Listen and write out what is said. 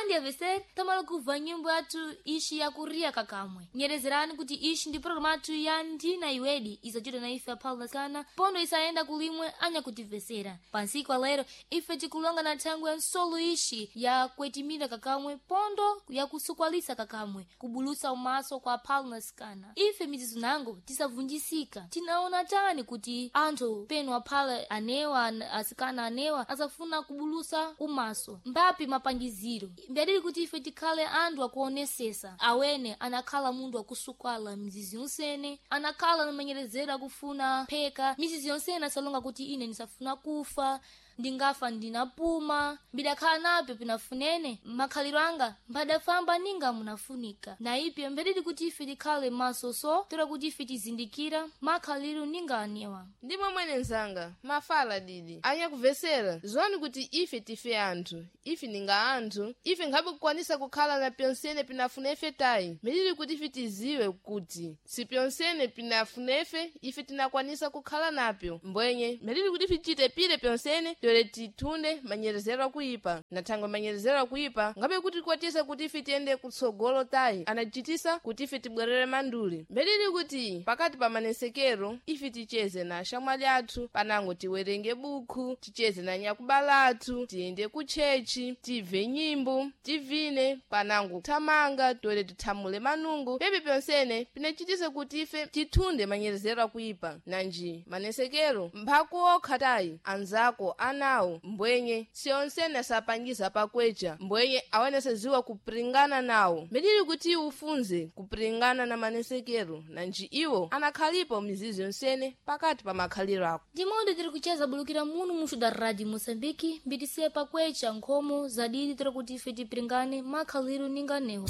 Andi avesere tamala kubva nyimbo yathu ishi yakuria kakamwe. Nyerezerani kuti ishi ndi programu athu ya Ndina Iwedi isachita na ife aphala kana pondo isayenda kulimwe anyakutivesera. Pansiku alero ife tikulonga na thangwe ya nsolo ishi ya kwetimira kakamwe pondo yakusukwalisa kakamwe kubulusa umaso kwa aphala nasikana. Ife mizizu nango tisavunjisika. Tinaona tani kuti anthu penu aphala anewa asikana anewa asafuna kubulusa umaso mbapi mapangiziro mbadili kuti ife tikhale anthu akuonesesa awene anakhala munthu akusukwala mizizi yonsene anakhala na manyerezero akufuna pheka mizizi yonsene asalonga kuti ine ndisafuna kufa, ndingafa ndinapuma, mbidakhala napyo pinafunene makhaliro anga mbadafamba ninga munafunika. Na ipyo mbedili kuti ife tikhale maso so tola kuti ife tizindikira makhaliro ninga anewa. Ndimo mwene nzanga mafala didi anyakuvesera, ziwani kuti ife tife anthu, ife ninga anthu, ife nkhabe kukwanisa kukhala na pyonsene pinafunefe tayi. Milili kuti ife tiziwe kuti si pyonsene pinafunefe ife tinakwanisa kukhala napyo. Mbwenye milili kuti ife tichite pile pyonsene tole tithunde manyerezero akuipa. Na thangwe manyerezero akuipa ngabe kuti kwatisa kuti ife tiyende kutsogolo tayi, anachitisa kuti ife tibwerere manduli. Mbelili kuti pakati pa manesekero ife ticheze na ashamwali athu, panango tiwerenge bukhu, ticheze na nyakubala athu, tiyende kutchechi, tibve nyimbo, tivine, panango thamanga tole tithamule manungo. Pepe pyonsene pinachitisa kuti ife tithunde manyerezero akuipa. Nanji manesekero mphaku okha tayi, anzako anawo mbwenye siyonsene asapangiza pakwecha, mbwenye awene saziwa kupringana nawo. Milili kuti ufunze kupringana na manesekero, nanji iwo anakhalipo mizizi yonsene pakati pa makhaliro ako. Ndimondo tiri kucheza bulukira munu muxu da Rádio Moçambique, mbitisiye pakwecha nkhomo zadidi tira kuti ife tipringane makhaliro ninga newo.